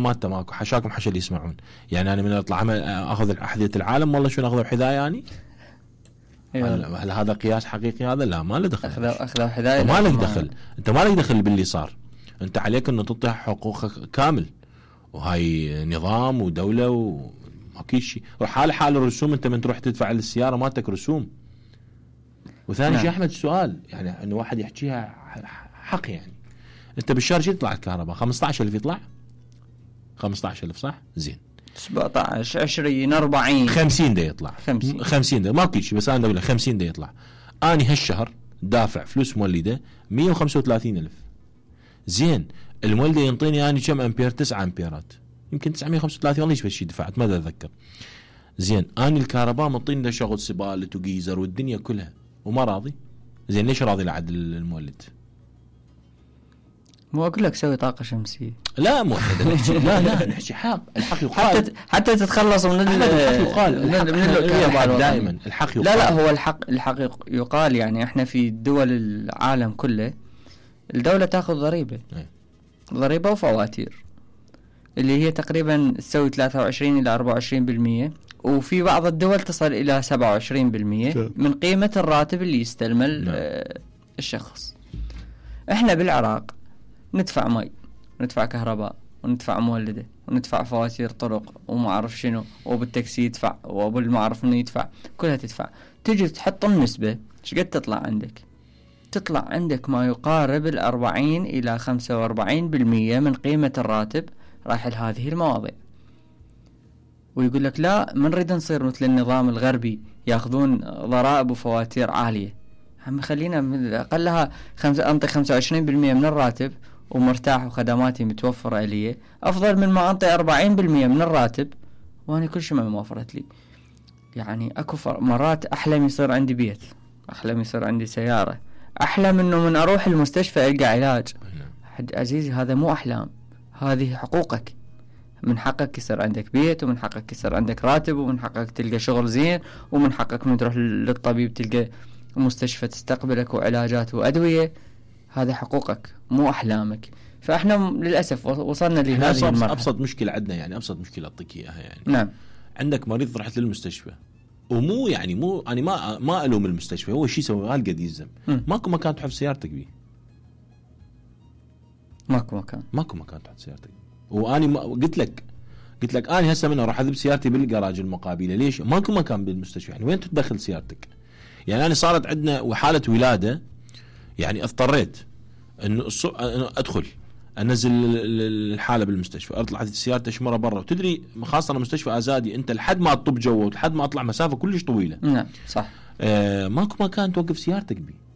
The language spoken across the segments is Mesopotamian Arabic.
مالته ماكو حشاكم حشا اللي يسمعون. يعني انا من اطلع اخذ احذيه العالم والله شنو اخذوا حذاء يعني. هل هذا قياس حقيقي هذا؟ لا ما له دخل. اخذوا حذاء ما لك دخل. انت ما لك دخل باللي صار. انت عليك انه تعطي حقوقك كامل، وهاي نظام ودوله وما شيء. وحال الرسوم، انت من تروح تدفع للسياره مالتك رسوم. وثاني شيء احمد سؤال، يعني انه واحد يحكيها حق. يعني انت بالشهر شو يطلع الكهرباء؟ 15,000 يطلع 15,000 صح؟ زين 17 20 40 50 دا يطلع 50 دا ماكو شيء. بس انا اقول لك 50 دا يطلع. اني هالشهر دافع فلوس مولده 135,000. زين المولده ينطيني اني كم امبير؟ 9 امبيرات، يمكن 935 والله ايش شيء دفعت ما اتذكر. زين اني الكهرباء مطيني شغل سبالة وجيزر والدنيا كلها وما راضي. زين ليش راضي لعد المولد؟ مو اقول لك سوي طاقه شمسيه. لا مو لا نحكي حق. الحق يقال حتى تتخلص من الحق يقال. من دائما الحق يقال. لا هو الحق يقال. يعني احنا في دول العالم كله الدوله تاخذ ضريبه وفواتير اللي هي تقريبا تسوي 23 الى 24%، وفي بعض الدول تصل الى 27% من قيمه الراتب اللي يستلمه الشخص. احنا بالعراق ندفع مي وندفع كهرباء وندفع مولده وندفع فواتير طرق وما اعرف شنو، وبالتاكسي يدفع وبالما اعرف انه يدفع، كلها تدفع. تجي تحط النسبه ايش قد تطلع عندك؟ تطلع عندك ما يقارب 40 الى 45% من قيمه الراتب رايح لهذه المواضيع. ويقول لك لا ما نريد نصير مثل النظام الغربي ياخذون ضرائب وفواتير عاليه. هم خلينا اقلها انطي 25% من الراتب ومرتاح وخدماتي متوفره لي، افضل من ما انطي 40% من الراتب وانا كل شيء ما موفرت لي. يعني اكو مرات احلم يصير عندي بيت، احلم يصير عندي سياره، احلم انه من اروح المستشفى القى علاج. عزيزي هذا مو احلام، هذه حقوقك. من حقك يصير عندك بيت، ومن حقك يصير عندك راتب، ومن حقك تلقى شغل زين، ومن حقك من تروح للطبيب تلقى مستشفى تستقبلك وعلاجات وأدوية. هذا حقوقك مو أحلامك. فإحنا للأسف وصلنا لهذه المرحلة. أبسط مشكلة عندنا، يعني أبسط مشكلة أعطيك إياها. يعني نعم، عندك مريض رحت للمستشفى، ومو يعني مو أنا ما ألوم المستشفى، هو شيء سوى قد يلزم. ماكو مكان تحط سيارتك بيه، ماكو مكان تحط سيارتك. وأنا قلت لك أنا هسه من أروح أذب سيارتي بالجراج المقابلة. ليش؟ ماكو مكان بالمستشفى. يعني وين تدخل سيارتك؟ يعني أنا صارت عندنا وحالة ولادة، يعني اضطريت إنه أدخل أنزل الحالة بالمستشفى، أطلع سيارتي أشمرها برا. وتدري خاصة مستشفى أزادي أنت لحد ما تطب جوا ولحد ما أطلع مسافة كلش طويلة. نعم صح. ماكو مكان توقف سيارتك بيه.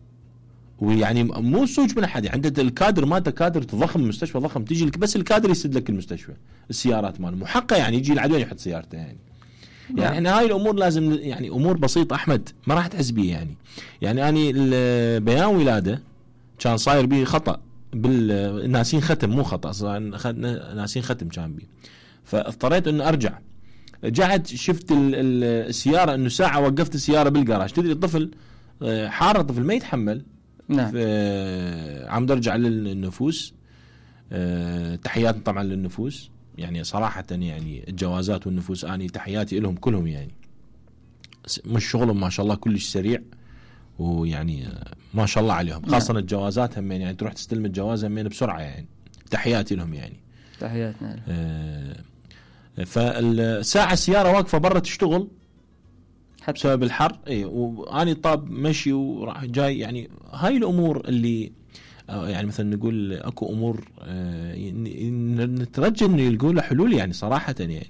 ويعني مو سوج من أحد، عندك الكادر مالته كادر ضخم، مستشفى ضخم، تيجي لك بس الكادر يسد لك المستشفى. السيارات ماله محقة، يعني يجي العدوان يحط سيارته. يعني احنا هاي الامور لازم، يعني امور بسيطه احمد ما راح تحس بيه. يعني اني بيان ولاده كان صاير بيه خطا بالناسين ختم، مو خطا، ناسين ختم كان بيه. فاضطريت انه ارجع. رجعت شفت السياره انه ساعه وقفت السياره بالجراج. تدري الطفل حار، الطفل ما يتحمل. نعم. عم ارجع للنفوس. تحيات طبعا للنفوس، يعني صراحة يعني الجوازات والنفوس اني تحياتي لهم كلهم. يعني مش شغلهم ما شاء الله كلش سريع، ويعني ما شاء الله عليهم. خاصة الجوازات هم يعني تروح تستلم الجواز هم بسرعة. يعني تحياتي لهم. يعني تحياتنا لهم. فالساعة السيارة واقفة برا تشتغل بسبب الحر. واني طاب مشي وراح جاي. يعني هاي الامور اللي يعني مثلا نقول اكو امور نترجى انه يلقوا له حلول. يعني صراحه يعني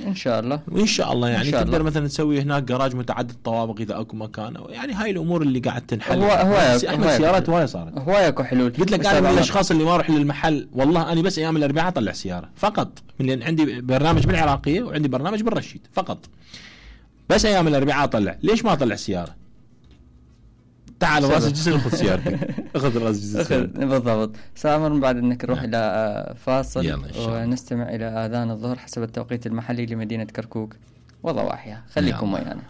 ان شاء الله، وان شاء الله يعني تقدر مثلا تسوي هناك جراج متعدد طوابق اذا اكو مكان. يعني هاي الامور اللي قاعد تنحل. احنا سيارات هوايه صارت، هوايه اكو حلول. قلت لك انا من الاشخاص اللي ما اروح للمحل. والله انا بس ايام الاربعاء اطلع سياره فقط، من لان عندي برنامج بالعراقيه وعندي برنامج بالرشيد فقط. بس ايام الاربعاء اطلع. ليش ما اطلع سياره؟ تعال راس الجسر خذ سيارتك. اخذ راس الجسر بالضبط. سامر بعد انك نروح الى فاصل ونستمع الى اذان الظهر حسب التوقيت المحلي لمدينه كركوك وضواحيها. خليكم ويانا.